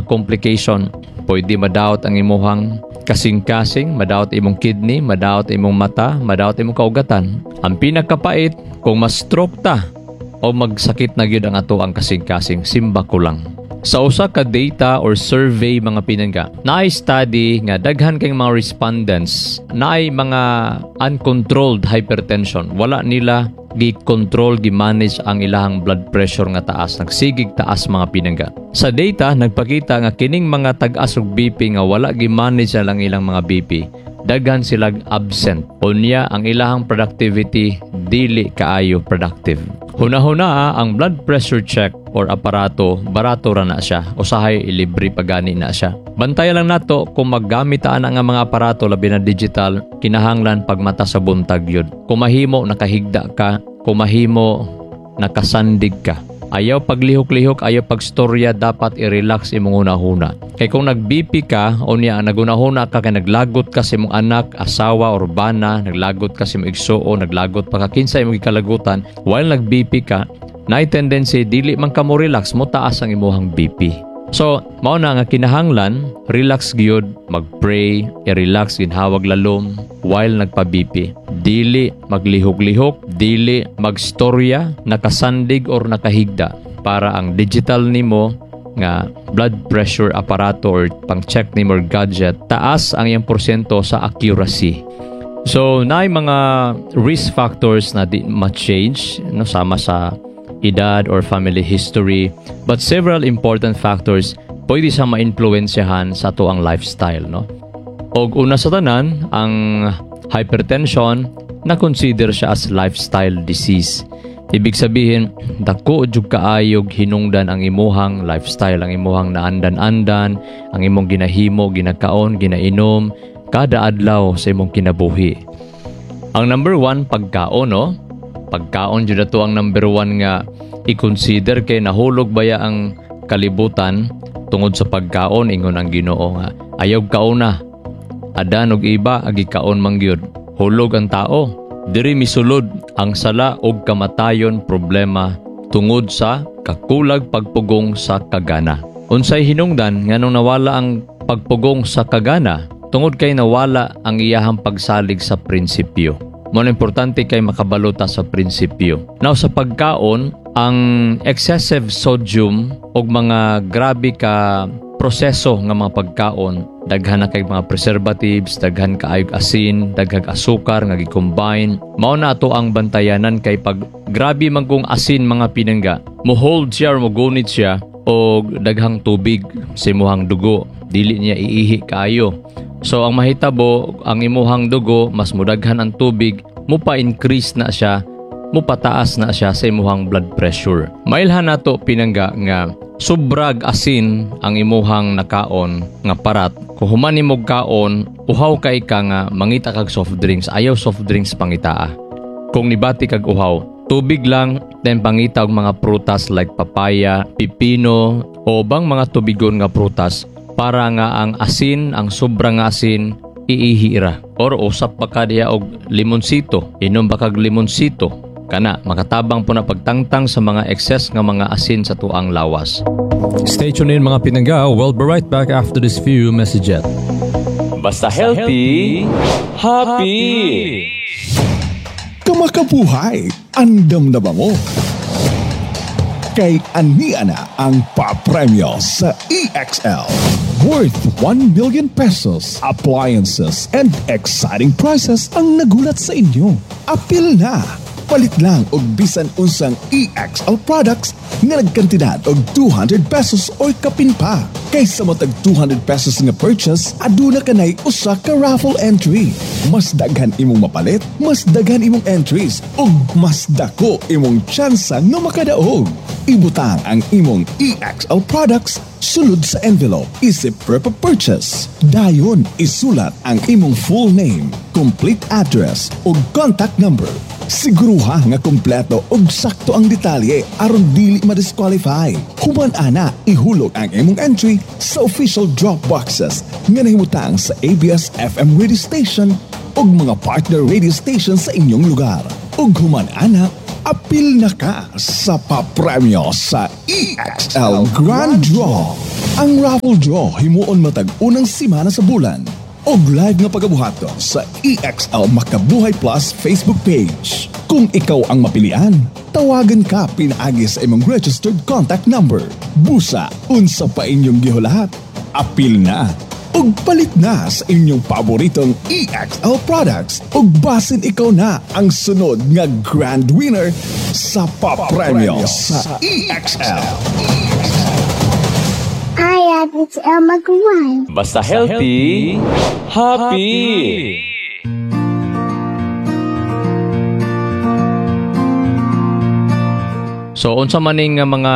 mga complication. Pwede madaot ang imuhang kasing-kasing, madaot imong kidney, madaot imong mata, madaot imong kaugatan. Ang pinakapait, kung ma-stroke ta o magsakit na gyud ang ato ang kasing-kasing, simba ko lang. Sa usa ka data or survey, mga pinangga, naay study nga daghan kay mga respondents naay mga uncontrolled hypertension. Wala nila gi-control, gi-manage ang ilahang blood pressure nga taas. Nagsigig taas, mga pinangga. Sa data, nagpakita nga kining mga tag-as og BP nga wala gi-manage na lang ilang mga BP, daghan silag absent. Unya, ang ilahang productivity dili kaayo productive. Huna-huna ang blood pressure check or aparato, barato ra na siya. Usahay ilibre pa gani na siya. Bantayan lang nato kung maggamit ta ana nga mga aparato, labi na digital, kinahanglan pagmata sa buntag yun. Kung mahimo nakahigda ka, kung mahimo nakasandig ka. Ayaw paglihok-lihok, ayaw pagstorya, dapat i-relax imong hunahuna. Kay kung nag-BP ka, o niya, nagunahuna ka kay naglagot ka sa imong anak, asawa, or bana, naglagot ka sa imong igsuon, naglagot pa ka kinsa imong gikalagutan, while nag-BP ka, naay tendency dili man ka mo relax, mo taas ang imuhang BP. So, mao na nga kinahanglan, relax gyud, mag-pray, i-relax, ginhawag lalom while nagpa-BP. Dili maglihok-lihok, dili magstorya, nakasandig or nakahigda para ang digital nimo nga blood pressure aparato or pang-check nimo or gadget, taas ang iyang porsyento sa accuracy. So, naay mga risk factors na di ma-change, no, sama sa edad or family history, but several important factors pwede sa ma-influensyahan sa ato ang lifestyle, no? Og una sa tanan, ang hypertension na consider siya as lifestyle disease. Ibig sabihin, dako jud kaayog hinungdan ang imuhang lifestyle, ang imuhang naandan-andan, ang imong ginahimo, ginakaon, ginainom kada adlaw sa imong kinabuhi. Ang number one, pagkaon, no? Pagkaon jud ato ang number one nga i-consider kay nahulog baya ang kalibutan tungod sa pagkaon. Ingon ang Ginoo nga ayaw kauna. Adan og Eva agi kaon man gyud. Hulog ang tao. Diri misulod ang sala og kamatayon, problema tungod sa kakulag pagpugong sa kagana. Unsay hinungdan nganong nawala ang pagpugong sa kagana? Tungod kay nawala ang iyahang pagsalig sa prinsipyo. Mo na importante kay makabalo ta sa prinsipyo. Now, sa pagkaon, ang excessive sodium og mga grabe ka proseso nga mga pagkaon, daghan na kay mga preservatives, daghan kaayog asin, daghang asukar nga gi-combine. Mao na ato ang bantayanan kay pag grabe man kung asin, mga pinangga, mo hold siya or mo gunit siya og daghang tubig sa imuhang dugo, dili niya iihi kaayo. So ang mahitabo, ang imuhang dugo mas mudaghan ang tubig, mo pa-increase na siya, mo pataas na siya sa imuhang blood pressure. Mailhan nato, pinangga, nga sobrag asin ang imuhang nakaon nga parat. Kung human nimo kaon, uhaw kay ka nga mangita kag soft drinks, ayaw soft drinks pangitaa. Kung nibati kag uhaw, tubig lang, then pangita og mga prutas like papaya, pipino, o bang mga tubigon nga prutas para nga ang asin, ang sobra nga asin, iihi ra. Or usap pa ka diha og limonsito, inom ba kag limonsito, kana makatabang po na pagtangtang sa mga excess nga mga asin sa tuang lawas. Stay tuned in, mga pinangga. We'll be right back after this few messages. Basta healthy, happy. Kamakabuhay, andam na ba mo? Kay ania na ang papremyo sa EXL. Worth 1 million pesos, appliances, and exciting prizes ang nagulat sa inyo. Apil na! Palit lang og bisan unsang EXL products nga nagkantidad og 200 pesos or kapin pa. Kaysa matag 200 pesos nga purchase, aduna kanay usa ka raffle entry. Mas daghan imong mapalit, mas daghan imong entries, ug mas dako imong tsansa nga makadaog. Ibutang ang imong EXL products sulod sa envelope isip proof of purchase. Dayon isulat ang imong full name, complete address ug contact number. Siguruha nga kompleto ug sakto ang detalye aron dili ma-disqualify. Human ana, ihulog ang imong entry sa official drop boxes nga nahimutang sa ABS FM radio station ug mga partner radio station sa inyong lugar. Ug human ana, Apil na ka sa papremyo sa EXL Grand Draw. Ang raffle draw himuon matag unang simana sa bulan og live nga pagabuhaton sa EXL Makabuhay Plus Facebook page. Kung ikaw ang mapilian, tawagan ka pinaagi sa imong registered contact number. Busa, unsa pa inyong gihulat? Apil na ug palit na sa inyong paboritong EXL products ug basin ikaw na ang sunod nga grand winner sa papremyo sa EXL. Hi, it's Elma Guan. Basta healthy, happy. So unsa man ning nga mga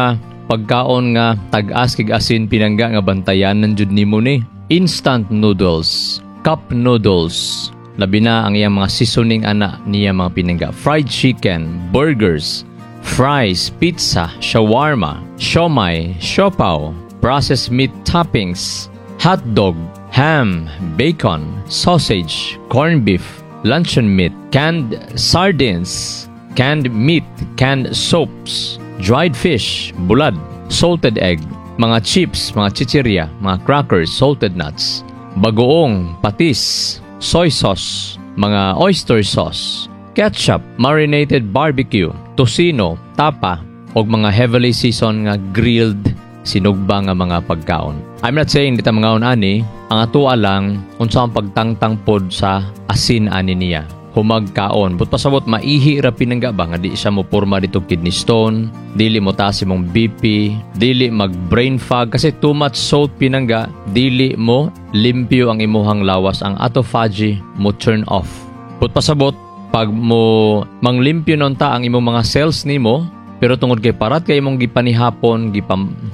pagkaon nga tag-as kig asin, pinangga, nga bantayanan jud nimo ni? Instant noodles, cup noodles, labi na ang iyang mga seasoning ana niya, mga pinangga, fried chicken, burgers, fries, pizza, shawarma, siomai, siopaw, processed meat toppings, hot dog, ham, bacon, sausage, corned beef, luncheon meat, canned sardines, canned meat, canned soaps, dried fish, bulad, salted egg, mga chips, mga chichirya, mga crackers, salted nuts, bagoong, patis, soy sauce, mga oyster sauce, ketchup, marinated barbecue, tocino, tapa, og mga heavily seasoned nga grilled sinugba nga mga pagkaon. I'm not saying di ta mangaon ani, ang atoa lang unsa ang pagtangtang pod sa asin ani niya. Humagkaon, but pasabot maihi ra, pinangga, ba nga di siya mo porma dito kidney stone, dili mo taas imong BP, dili mag brain fog kasi too much salt, pinangga, dili mo limpyo ang imuhang lawas, ang autophagy mo turn off. But pasabot pag mo manglimpyo nun ta ang imong mga cells nimo, pero tungod kay parat kay imong gipanihapon,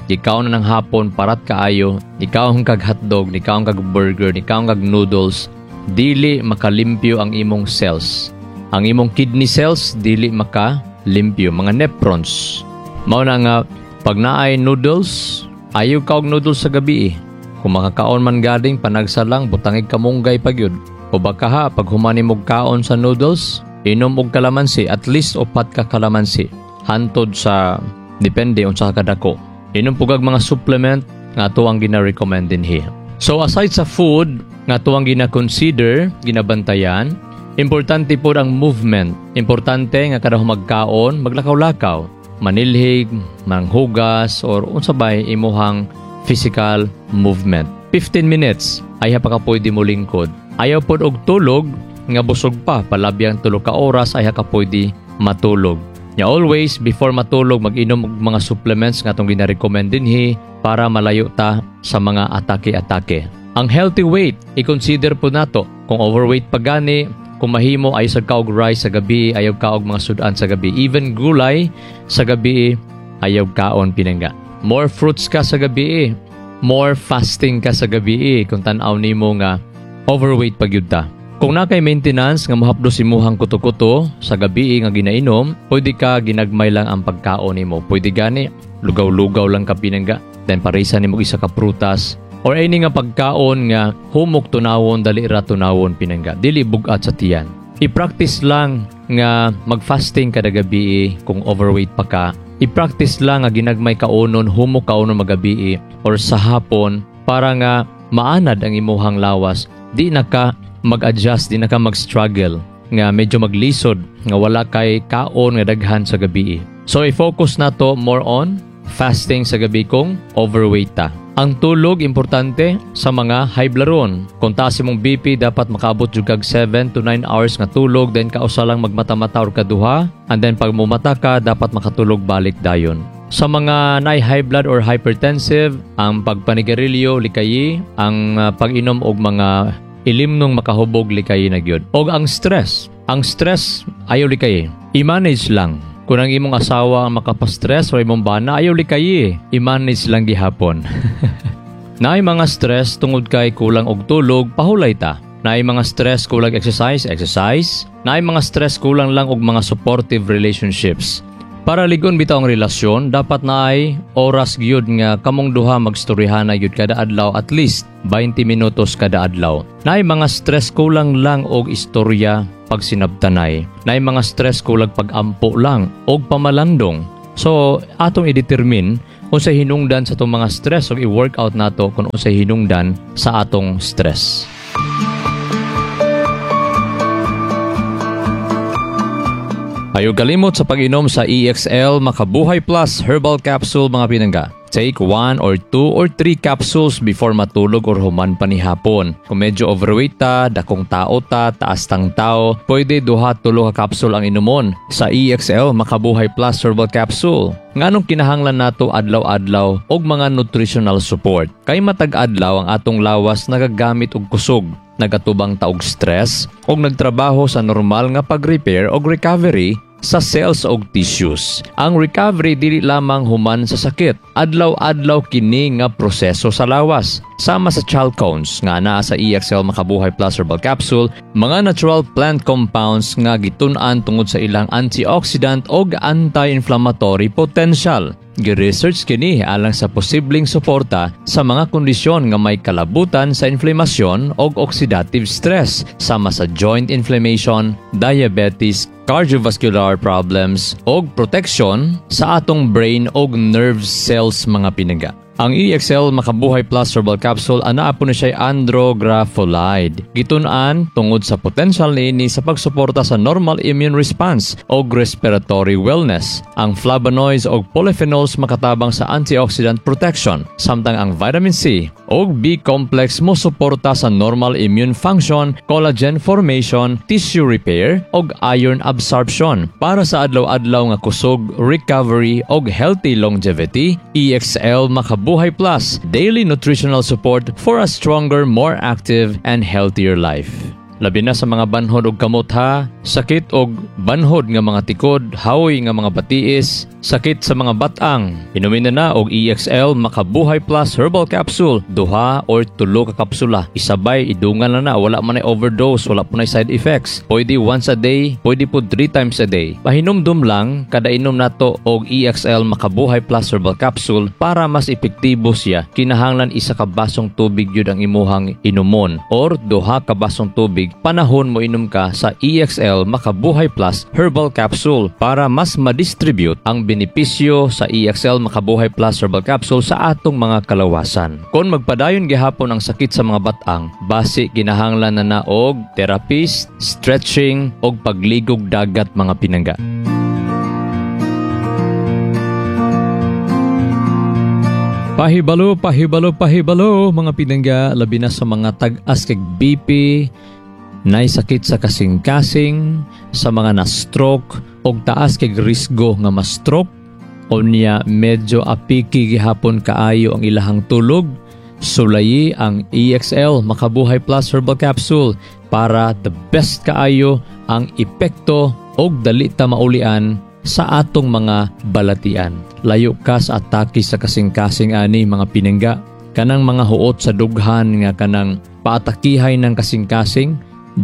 gikaon na ng hapon, parat kaayo, ikaw kag hotdog, ikaw kag burger, ikaw kag noodles, dili makalimpyo ang imong cells. Ang imong kidney cells dili makalimpyo, mga nephrons. Mao na nga pag naay noodles, ayaw ka og noodles sa gabi eh. Kung makakaon man gading panagsa lang, butangig kamunggay pa gyud. O baka ha, pag humani mo kaon sa noodles, inom og kalamansi, at least upat ka kalamansi. Hantod sa depende unsa ka kadako. Inom pugag mga supplement nga ato ang gina-recommend dinhi. So aside sa food nga ato ang gina-consider, ginabantayan, importante po ang movement. Importante nga kada magkaon, maglakaw-lakaw, manilhig, manghugas or unsa bay imuhang physical movement. 15 minutes ay pa ka pwede mo lingkod. Ayaw pod og tulog nga busog pa, palabyang 3 ka oras ay ka pwede matulog. Ya always before matulog mag-inom og mga supplements nga atong gina-recommend dinhi para malayo ta sa mga atake-atake. Ang healthy weight, i-consider po nato. Kung overweight pa gani, kung mahimo ay sa kaog rice sa gabi, ayaw kaog mga sudan sa gabi. Even gulay sa gabi ayaw kaon, pinangga. More fruits ka sa gabi, more fasting ka sa gabi kung tan-aw nimo nga overweight pa gyud ta. Kung na kay maintenance nga mohapdos imuhang kuto-kuto sa gabi nga ginainom, pwede ka ginagmay lang ang pagkaon nimo. Pwede gani lugaw-lugaw lang ka, pinangga. Then parisa nimo isa ka prutas or any nga pagkaon nga humok tunawon, dali ra tunawon, pinangga. Dili bugat sa tiyan. I-practice lang nga mag-fasting kada gabi kung overweight pa ka. I-practice lang nga ginagmay kaonon, humok kaonon magabi or sa hapon para nga maanad ang imuhang lawas. Di na ka mag-adjust, di na ka mag-struggle nga medyo maglisod nga wala kay kaon nga daghan sa gabi. So i-focus na to more on fasting sa gabi kung overweight ta. Ang tulog importante sa mga high blood. Kung taas imong BP, dapat makaabot jud kag 7 to 9 hours nga tulog, then kausa lang magmata-mata or kaduha, and then pag mumata ka dapat makatulog balik dayon. Sa mga naay high blood or hypertensive, ang pagpanigarilyo likayi, ang pag-inom og mga ilimnong makahubog likayi na gyud. Og ang stress ayaw likayi. I-manage lang. Kung ang imong asawa ang makapastress o imong bana, ayaw likayi. I-manage lang gihapon. Naay mga stress tungod kay kulang og tulog, pahulay ta. Naay mga stress kulang exercise, exercise. Naay mga stress kulang lang og mga supportive relationships. Para ligon bitaw ang relasyon, dapat naay oras gyud nga kamong duha magstoryahan gyud kada adlaw, at least 20 minutos kada adlaw. Naay mga stress, kulang lang og istorya pag sinabtanay. Naay mga stress, kulang pag-ampo lang og pamalandong. So atong i-determine unsay hinungdan sa atong mga stress ug i-work out nato kung unsay hinungdan sa atong stress. Ayaw kalimot sa pag-inom sa EXL Makabuhay Plus Herbal Capsule, mga pinangga. Take 1 or 2 or 3 capsules before matulog or human panihapon. Kung medyo overweight ta, dakong tao ta, taas tang tao, pwede duha tulo ka capsule ang inumon sa EXL Makabuhay Plus Herbal Capsule. Nganong kinahanglan nato adlaw-adlaw og mga nutritional support? Kay matag adlaw ang atong lawas nagagamit og kusog, nagatubang ta og stress og nagtrabaho sa normal nga pag-repair og recovery sa cells og tissues. Ang recovery dili lamang human sa sakit. Adlaw-adlaw kini nga proseso sa lawas. Sama sa chalcones nga naa sa EXL Makabuhay Plus Herbal Capsule, mga natural plant compounds nga gitun-an tungod sa ilang antioxidant og anti-inflammatory potential. Gi-research kini alang sa posibleng suporta sa mga kondisyon nga may kalabutan sa inflamasyon og oxidative stress, sama sa joint inflammation, diabetes, cardiovascular problems, og protection sa atong brain og nerve cells, mga pinangga. Ang EXL Makabuhay Plus Herbal Capsule anaa po ni siya andrographolide. Gitun-an tungod sa potential niini sa pagsuporta sa normal immune response og respiratory wellness. Ang flavonoids og polyphenols makatabang sa antioxidant protection, samtang ang vitamin C og B complex mo suporta sa normal immune function, collagen formation, tissue repair og iron absorption. Para sa adlaw-adlaw nga kusog, recovery og healthy longevity, EXL Makabuhay Plus, daily nutritional support for a stronger, more active, and healthier life. Labi na sa mga banhod og kamot ha, sakit og banhod nga mga tikod, haoy nga mga batiis, sakit sa mga batang. Inumin na na og EXL Makabuhay Plus Herbal Capsule, 2 or 3 ka kapsula. Isabay, idungan na na, wala man ay overdose, wala po na side effects. Pwede once a day, pwede po 3 times a day. Pahinumdum lang, kada inom nato og EXL Makabuhay Plus Herbal Capsule para mas epektibo siya, kinahanglan 1 ka basong tubig yun ang imuhang inumon or 2 ka basong tubig panahon mo inom ka sa EXL Makabuhay Plus Herbal Capsule para mas madistribute ang benepisyo sa EXL Makabuhay Plus Herbal Capsule sa atong mga kalawasan. Kung magpadayon gihapon ang sakit sa mga batang, basi kinahanglan na na og therapist, stretching og pagligog dagat, mga pinangga. Pahibalo, pahibalo, pahibalo mga pinangga, labi na sa mga tag-as kag BP, nay sakit sa kasing-kasing, sa mga na-stroke og taas kay risgo nga ma-stroke, unya medyo apiki gihapon kaayo ang ilahang tulog, sulayi ang EXL Makabuhay Plus Herbal Capsule para the best kaayo ang epekto og dali ta maulian sa atong mga balatian. Layo ka sa atake sa kasing-kasing ani mga pinangga, kanang mga huot sa dughan nga kanang paatakihay ng kasing-kasing,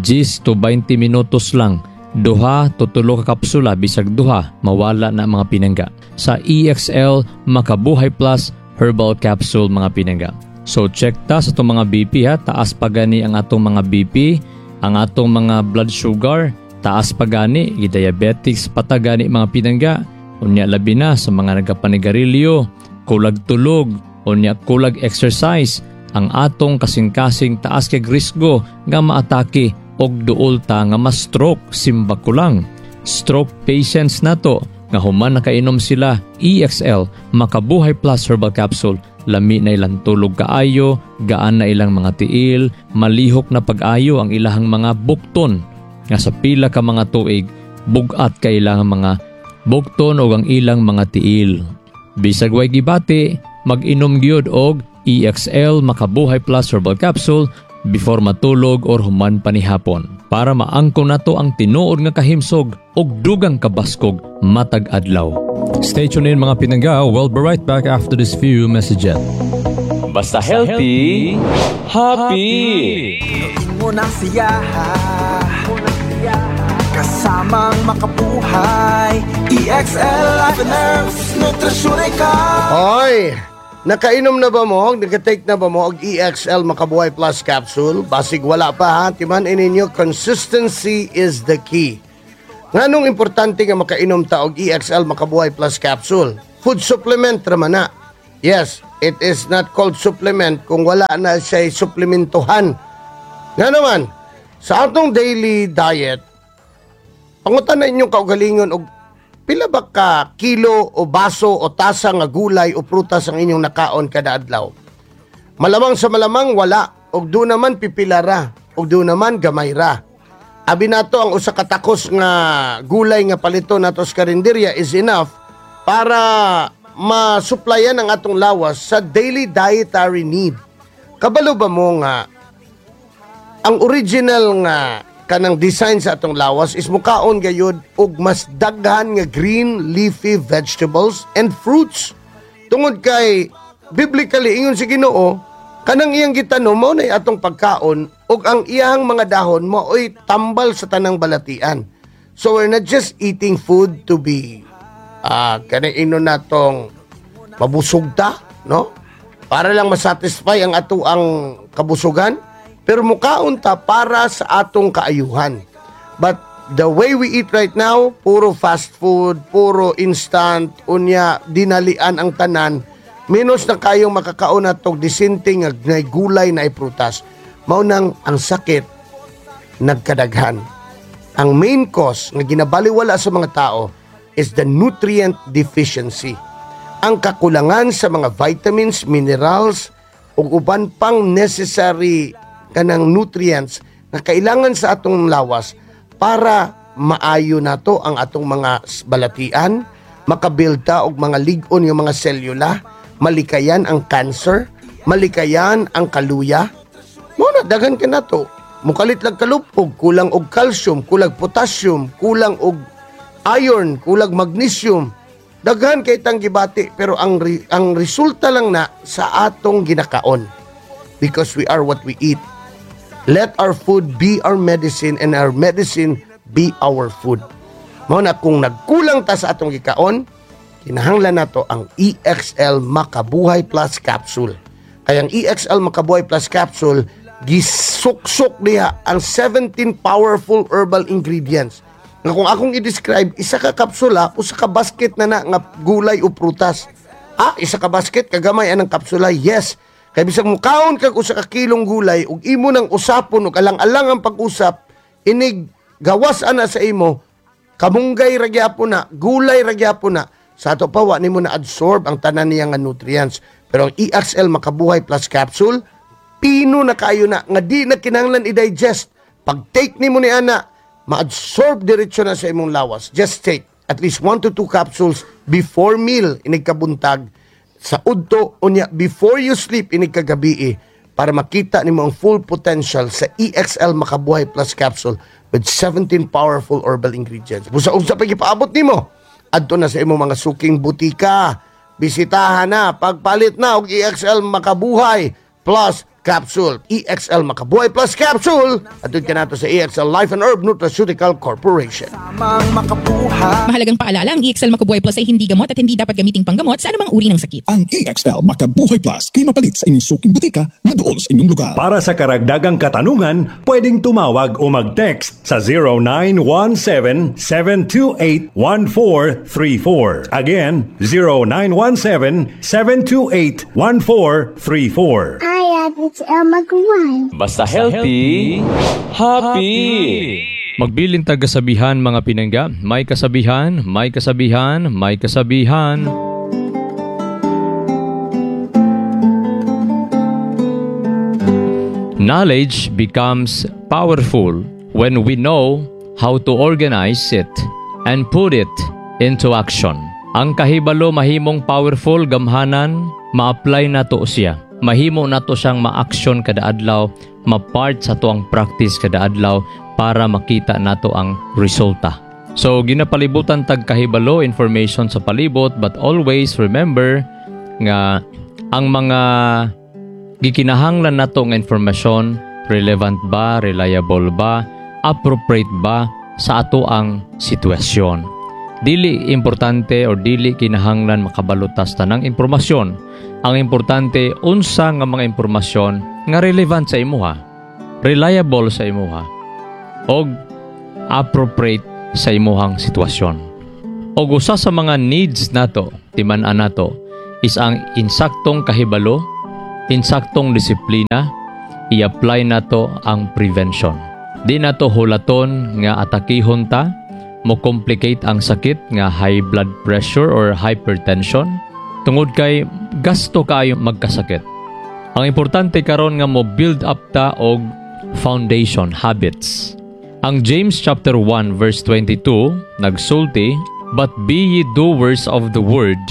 10 to 20 minutos lang, 2 to 3 ka kapsula, bisag duha, mawala na mga pinangga. Sa EXL Makabuhay Plus Herbal Capsule mga pinangga. So check ta sa itong mga BP ha, taas pa gani ang atong mga BP, ang atong mga blood sugar, taas pa gani, diabetics pa gani mga pinangga. Unya labi na sa mga nagapanigarilyo, kulag tulog, unya kulag exercise, ang atong kasing-kasing taas kay risgo nga maatake og duol ta nga ma-stroke, simba ko lang. Stroke patients nato nga human nakainom sila EXL Makabuhay Plus Herbal Capsule, lami na ilang tulog kaayo, gaan na ilang mga tiil, malihok na pag-ayo ang ilahang mga bukton nga sa pila ka mga tuig bugat kay ilang mga bukton og ang ilang mga tiil. Bisag way gibati, mag-inom gyud og EXL Makabuhay Plus Herbal Capsule before matulog or human panihapon para maangko nato ang tinuod nga kahimsog og dugang kabaskog matag adlaw. Stay tuned in mga pinangga, we'll be right back after this few messages. Basta healthy, happy. Mo na siya. Kasamang makabuhay, EXL Life and Herbs Nutraceutical. Hoy, nakainom na ba mo? Naka-take na ba mo og EXL Makabuhay Plus capsule? Basig wala pa ha. Timan ninyo, consistency is the key. Nganong importante nga makainom ta og EXL Makabuhay Plus capsule? Food supplement raman na. Yes, it is not called supplement kung wala na siya suplementohan. Nga naman, sa atong daily diet, pangutan na inyong kaugalingon og pila ba ka kilo o baso o tasa nga gulay o prutas ang inyong nakaon kada adlaw. Malamang sa malamang wala, og do naman pipila ra, og do naman gamay ra. Abi nato ang usa ka takos nga gulay nga palito nato sa karinderya is enough para masuplayan ang atong lawas sa daily dietary need. Kabalo ba mo nga ang original nga kanang design sa atong lawas is mukaon gayud og mas daghan nga green leafy vegetables and fruits, tungod kay biblically ingon si Ginoo, kanang iyang gitanom mao nay atong pagkaon ug ang iyang mga dahon mao'y tambal sa tanang balatian. So we're not just eating food to be kanang ino natong mabusog ta, no, para lang masatisfy ang ato ang kabusugan, pero mukaon ta para sa atong kaayuhan. But the way we eat right now, puro fast food, puro instant, unya dinalian ang tanan, menos na kayong makakaon natog disente nga nay gulay na prutas. Mao nang ang sakit nagkadaghan. Ang main cause nga ginabaliwala sa mga tao is the nutrient deficiency. Ang kakulangan sa mga vitamins, minerals, ug uban pang necessary kanang nutrients nga kailangan sa atong lawas para maayo nato ang atong mga balatian, makabuild ta og mga lig-on nga mga selula, malikayan ang cancer, malikayan ang kaluya. Mao na daghan ka nato. Mukalit lang kalupog, kulang og calcium, kulang potassium, kulang og iron, kulang magnesium. Daghan kay tang gibati, pero ang resulta lang na sa atong ginakaon. Because we are what we eat. Let our food be our medicine and our medicine be our food. Mao na kung nagkulang ta sa atong gikaon, kinahanglan nato ang EXL Makabuhay Plus capsule. Kaya ang EXL Makabuhay Plus capsule, gisuksok niya ang 17 powerful herbal ingredients. Nga kung akong i-describe, isa ka kapsula, usa ka basket na na nga gulay o prutas. Ah, isa ka basket, kagamay anang kapsula? Yes. Kay bisag mukaon kag usa ka kilong gulay ug imo nang usapon ug alang-alang ang pag-usap, inig gawas ana sa imo, kamunggay ra gyapon na, gulay ra gyapon na. Sa ato pa wa nimo na absorb ang tanan niya nga nutrients. Pero ang EXL Makabuhay Plus capsule, pino na kayo na nga di na kinahanglan i-digest. Pag take nimo ni ana, ma-absorb diretso na sa imong lawas. Just take at least 1 to 2 capsules before meal inig kabuntag, sa udto, unya before you sleep inig kagabi, para makita nimo ang full potential sa EXL Makabuhay Plus capsule with 17 powerful herbal ingredients. Busa unsa pa gipaabot nimo? Adto na sa imong mga suking butika. Bisitahan na, pagpalit na og EXL Makabuhay Plus capsule. EXL Makabuhay Plus capsule. Adto ka nato sa EXL Life and Herb Nutraceutical Corporation. Samang makabuhay. Mahalagang paalala, ang EXL Makabuhay Plus ay hindi gamot at hindi dapat gamiting panggamot sa anumang uri ng sakit. Ang EXL Makabuhay Plus kay mapalit sa inyong suking butika na dool sa inyong lugar. Para sa karagdagang katanungan, pwedeng tumawag o mag-text sa 0917-728-1434. Again, 0917-728-1434. Hi, it's Elma Guan. Basta healthy, happy. Magbilin tag kasabihan, mga pinangga, may kasabihan, may kasabihan, may kasabihan. Knowledge becomes powerful when we know how to organize it and put it into action. Ang kahibalo mahimong powerful gamhanan, ma-apply nato siya. Mahimo nato siyang ma-action kada adlaw, ma-part sa tuang practice kada adlaw para makita nato ang resulta. So ginapalibutan tag kahibalo, information sa palibot, but always remember nga ang mga gikinahanglan nato nga informasyon, relevant ba, reliable ba, appropriate ba sa ato ang sitwasyon. Dili importante or dili kinahanglan makabalo ta sa tanang impormasyon. Ang importante, unsa nga mga impormasyon nga relevant sa imuha, reliable sa imuha, og appropriate sa imuhang sitwasyon. Og usa sa mga needs nato, timan-an nato, is ang insaktong kahibalo, insaktong disiplina, i-apply nato ang prevention. Di nato hulaton nga atakihon ta, mo complicate ang sakit nga high blood pressure or hypertension, tungod kay gasto kaayo magkasakit. Ang importante karon nga mo build up ta og foundation habits. Ang James chapter 1 verse 22 nagsulti, "But be ye doers of the word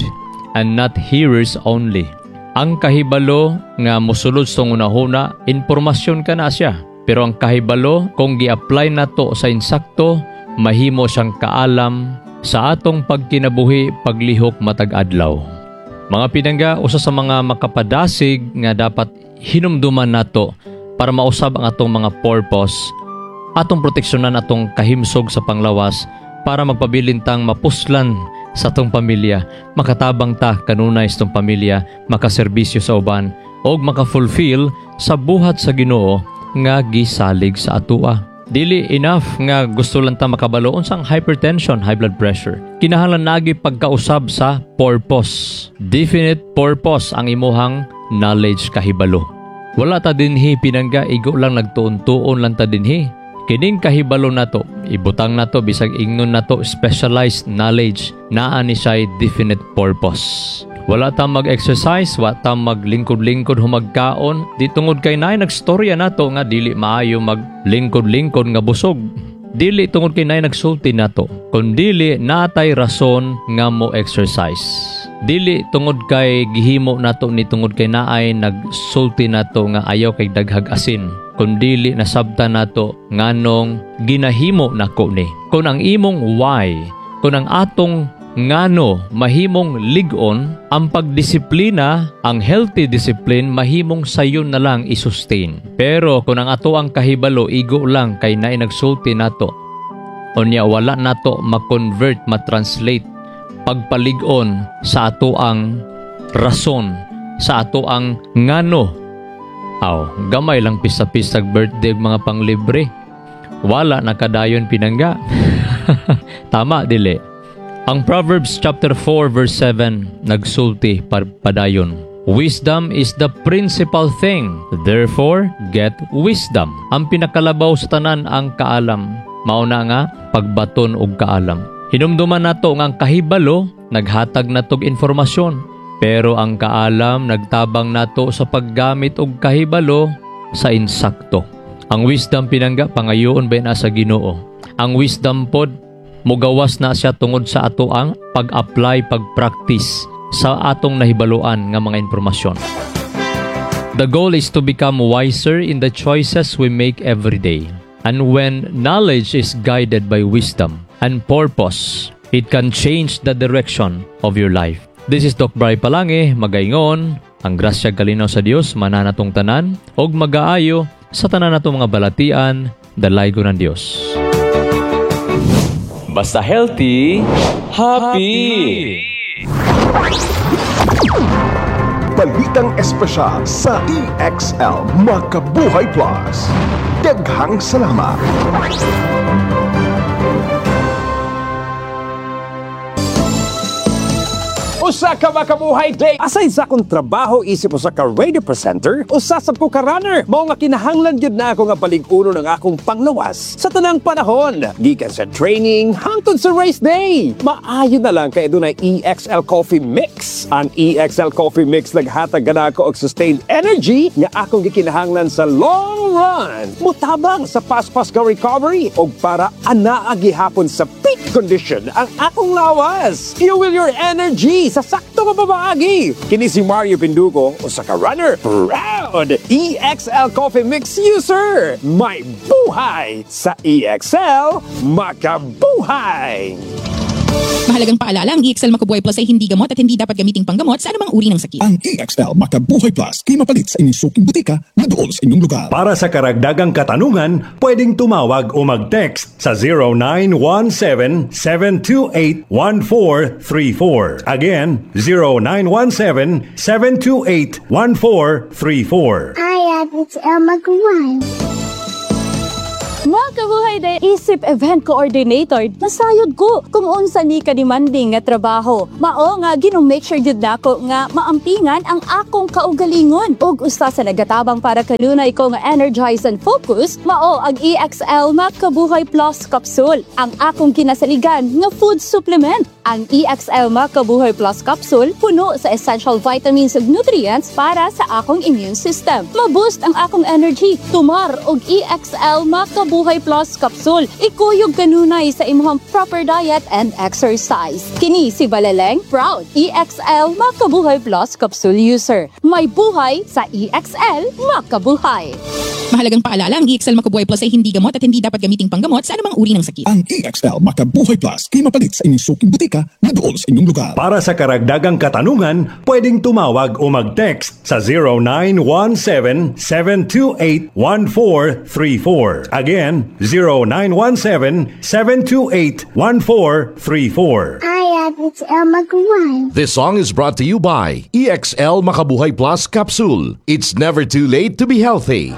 and not hearers only." Ang kahibalo nga mosulod sa hunahuna, impormasyon ka na siya. Pero ang kahibalo, kung gi-apply nato sa insakto, mahimo siyang kaalam sa atong pagkinabuhi, paglihok matag adlaw. Mga pinangga, usa sa mga makapadasig nga dapat hinumduman nato para mausab ang atong mga purpose, atong proteksyonan atong kahimsog sa panglawas para magpabilin tang mapuslan sa atong pamilya, makatabang ta kanunay sa atong pamilya, makaserbisyo sa uban, og maka-fulfill sa buhat sa Ginoo nga gisalig sa atua. Dili enough nga gusto lang ta makabalo unsang hypertension, high blood pressure. Kinahanglan nagi pagkausab sa purpose. Definite purpose ang imuhang knowledge kahibalo. Wala ta dinhi, pinangga, igo lang nagtuon-tuon lang ta dinhi. Kining kahibalo nato, ibutang nato bisag ingnon nato specialized knowledge, naa ni siya definite purpose. Wala ta mag-exercise, wa ta maglingkod-lingkod humagkaon, di tungod kay naay nagstorya nato nga dili maayo maglingkod-lingkod nga busog. Dili tungod kay naay nagsulti nato, kundili natay rason nga mo exercise. Dili tungod kay gihimo nato ni tungod kay naay nagsulti nato nga ayaw kay daghag asin, kundili nasabta nato nganong ginahimo nako ni. Kung ang imong why, kung ang atong ngano mahimong lig-on, ang pagdisiplina, ang healthy discipline mahimong sayon na lang i-sustain. Pero kung ang ato ang kahibalo igo lang kay naay nagsulti nato, unya wala nato ma-convert, ma-translate pagpalig-on sa ato ang rason, sa ato ang ngano. Aw, gamay lang pista-pistag birthday mga panglibre. Wala nakadayon, pinangga. Tama dili? Ang Proverbs chapter 4 verse 7 nagsulti padayon. "Wisdom is the principal thing. Therefore, get wisdom." Ang pinakalabaw sa tanan ang kaalam. Mao na nga pagbaton og kaalam. Hinumduman nato nga ang kahibalo naghatag natog informasyon, pero ang kaalam nagtabang nato sa paggamit og kahibalo sa insakto. Ang wisdom, pinangga, pangayoon ba na sa Ginoo. Ang wisdom pod mugawas na siya tungod sa ato ang pag-apply, pag-practice sa atong nahibaluan nga mga impormasyon. The goal is to become wiser in the choices we make every day. And when knowledge is guided by wisdom and purpose, it can change the direction of your life. This is Doc Bry Palange, magaingon, ang grasya kalinaw sa Dios mananatong tanan, og magaayo sa tanan natong mga balatian, dalaygo ng Dios. Basta healthy, happy! Balitang espesyal sa EXL Makabuhay Plus. Daghang salamat! Usa ka makabuhay day. Aside sa akong trabaho isip usa ka radio presenter, usa sab ko ka runner. Mao nga kinahanglan gyud na ako nga palig-uno ng akong panglawas sa tanang panahon. Gikan sa training hangtod sa race day. Maayo na lang kay adunay EXL Coffee Mix. Ang EXL Coffee Mix naghatag kanako og sustained energy nga akong gikinahanglan sa long run. Mutabang sa paspas ka recovery og para anaa gihapon sa peak condition ang akong lawas. Fuel your energy sa sakto nga pamaagi. Kini si Mario Pindugo, usa ka runner, proud EXL Coffee Mix user. May buhay sa EXL, makabuhay! Mahalagang paalala, ang EXL Makabuhay Plus ay hindi gamot at hindi dapat gamiting panggamot sa anumang uri ng sakit. Ang EXL Makabuhay Plus kay mapalit sa inyong suking butika na duol sa inyong lugar. Para sa karagdagang katanungan, pwedeng tumawag o mag-text sa 0917-728-1434. Again, 0917-728-1434. I am XL Mag-1. Mga kabuhay day, isip event coordinator, nasayod ko kung unsa ni ka-demanding nga trabaho. Mao nga gino-make sure jud nako nga maampingan ang akong kaugalingon. Ug usa sa nagatabang para kanunay ko nga energize and focus, mao ang EXL Makabuhay Plus Capsule, ang akong kinasaligan nga food supplement. Ang EXL Makabuhay Plus Capsule puno sa essential vitamins ug nutrients para sa akong immune system. Ma-boost ang akong energy. Tumar og EXL Makabuhay Plus Capsule. Ikuyog kanunay sa imong proper diet and exercise. Kini si Balaleng, proud EXL Makabuhay Plus Capsule user. May buhay sa EXL Makabuhay. Mahalagang paalala, ang EXL Makabuhay Plus ay hindi gamot at hindi dapat gamiting panggamot sa anumang uri ng sakit. Ang EXL Makabuhay Plus kay mapalit sa inyong suking butika na duol sa inyong lugar. Para sa karagdagang katanungan, pwedeng tumawag o mag-text sa 0917-728-1434. Again, 0917-728-1434. I am XL Mag-1. This song is brought to you by EXL Makabuhay Plus Capsule. It's never too late to be healthy.